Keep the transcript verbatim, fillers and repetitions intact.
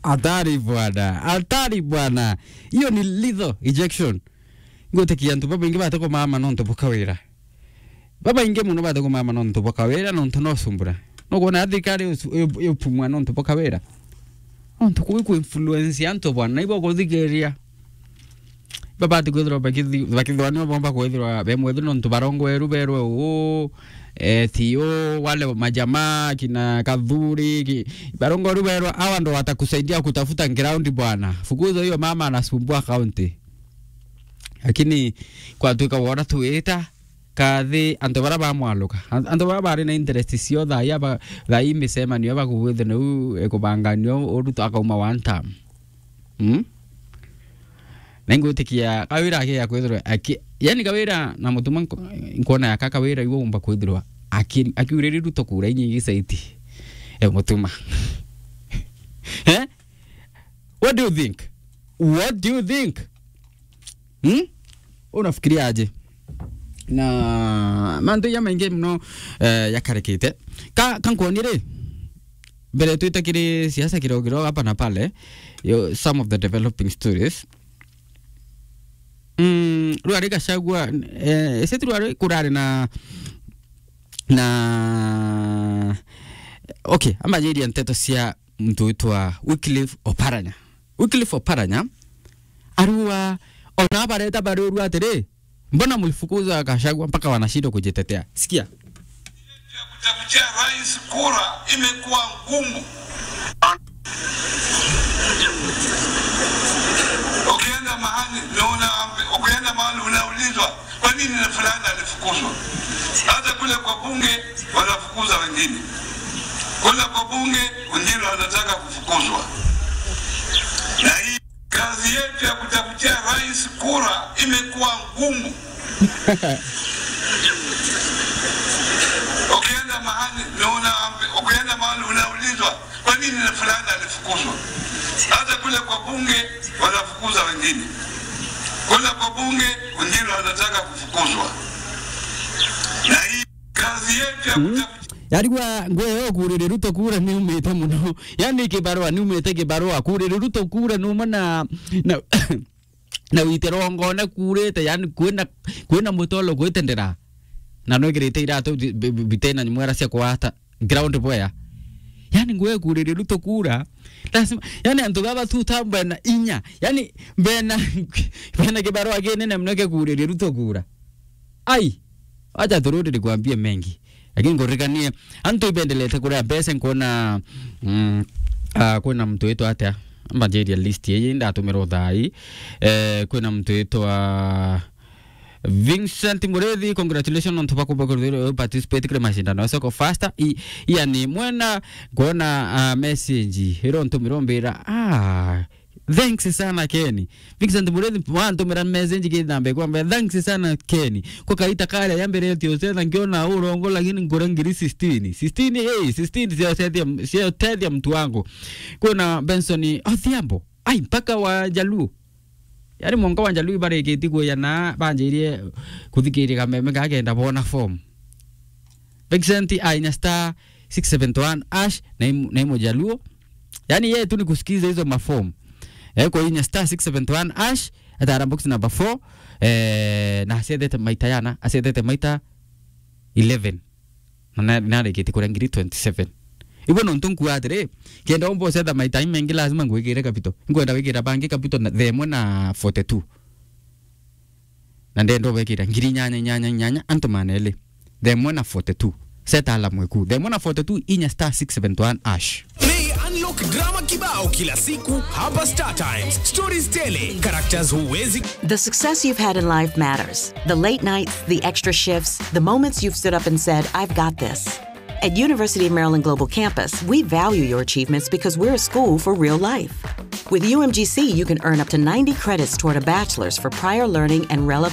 Hatari bwana, hatari bwana. Hiyo ni lethal injection. Ngwitikia antu babaingi batikumaama nontu bwa kawira. Babaingi muno batikumaama nontu bwa kawira, nontu no sumbura. Nukwona thirikari iu-, iu-, iupumwa nontu bwa kawira? Nontu kuu iku influence antu bwana, na ibo kuthikiria. Babati kwithirwa bakithi-, bakithirwa nio bomba kwithirwa be mwethirwa nontu barongweru berwe uu, eh, ti uu, wale majamaa, kina Kathuri, ki-, barongweru berwe, hawa ndo watakusaidia kutafuta ground bwana. Fukuza huyo mama anasumbua county. Lakini kwatuika wona twita kathi antu bara bamwaluka. An-, antu bara bari na interest cio thaa ii aba-, thaa ii micemanio bakugwithirwa niu ikubanganio uruto akauma one term. Mm? Na ingwitikia kawira akia kwithirwa aki-, yani kawira na mutuma nko-, nkona yaka kawira iwe umba kwithirwa aki-, akiuriri Ruto kura inyingi saiti. E mutuma. Eh? What do you think? What do you think? Hmm? Unafikiria aje? Na mantu ya maingi muno, eh, yakarikite. Ka, ka nkwoni ri, mbere twite kiri siasa kidogo kidogo hapa na pale, yo, some of the developing stories. Mm, rwari Gachagua, eh, ese tu rwari kurari na, na, okay, ambajiria nteto cia muntu witwa Wycliffe Oparanya. Wycliffe Oparanya, arua, ona bareta bariurua atiri, "Mbona mlifukuza Gachagua mpaka wanashindwa kujitetea?" Sikia. Kutafutia rais kura imekuwa ngumu. Ukienda mahali, unaona, ukienda mahali unaulizwa, "Kwa nini fulani alifukuzwa?" Hata kule kwa bunge wanafukuza wengine. Kule kwa bunge wengine wanataka kufukuzwa. Na hii kazi yetu ya kutafutia rais kura imekuwa ngumu. Ukienda mahali, unaona, ukienda mahali unaulizwa, "Kwa nini fulani alifukuzwa?" Hata kule kwa bunge wanafukuza wengine. Kule kwa bunge wengine wanataka kufukuzwa. Na hii kazi yetu ya kutafutia. Yarigwa ngwe yo kurire Ruto kura ni umite muno. Yani kibarua ni umite kibarua kurire Ruto kura ni umwe na, na na wite rongone kurite, yani kwina, kwina mutolo gwitendera. Na nwikirite iratu bi-, bi-, bitena mwera cia kwata ground boya. Yani ngwe kurire Ruto kura. Lazima, yani antu baba tu ta bena inya. Yani bena, bena kibarua kinene muno kia kurire Ruto kura. Ai, acha turudi nikwambie mengi. Lakini nguririkanie, antu ibendelete kuria mbeca, nkuona, mm, ah, kwina muntu witwa atia? Mbanjiria list ii ndatumirwo thaa ii. Eh, kwina muntu witwa Vincent Murithi, congratulations nontu bwa kumba kuthirwa participate kiri mashindano ya Soko Faster. I, yani mwena, nkuona, ah, message iro ntumirwo mbira, ah, Thanks sana Kenny. Vincent Murithi wantumira message kithambe kwamba, "Thanks sana Kenny. Kwa kaita kale ya mbere tio setha ngiona urongo, lakini ngura ngiri sixteen." Sixteen, hey, sixteen sio setha, sio tethia mtu wangu. Kuna Benson Odhiambo. Ai, mpaka wa Jaluo. Yani monka wa Jaluo ibarikiti kuya na banjirie kuthikiria kameme gakenda bona form. Vincent ainya star six seven one hash na imu-, na imu Jaluo. Yani yeye tu ni kusikiza hizo maform. Eh, kwa inya star six seven one hash, atara box number four, eh, na acethete maita yana, acethete maita eleven. Na, na, narikite kuria ngiri twenty-seven. Ibo nontu nkua atiri, kenda umba ucetha maita mengi lazima ngwikire capital. Nkwenda wikira bangi capital na themwe na forty-two. Na ndenda ubekira ngiri inyanya, inyanya, inyanya, antu maneli. Themwe na forty-two. Set alarm weku. Themwe na forty-two, inya star six seven one hash. Play Unlock drama kibao kila siku hapa Star Times. Stories tele, characters huwezi. The success you've had in life matters. The late nights, the extra shifts, the moments you've stood up and said, "I've got this." At University of Maryland Global Campus, we value your achievements because we're a school for real life. With U M G C, you can earn up to ninety credits toward a bachelor's for prior learning and relevant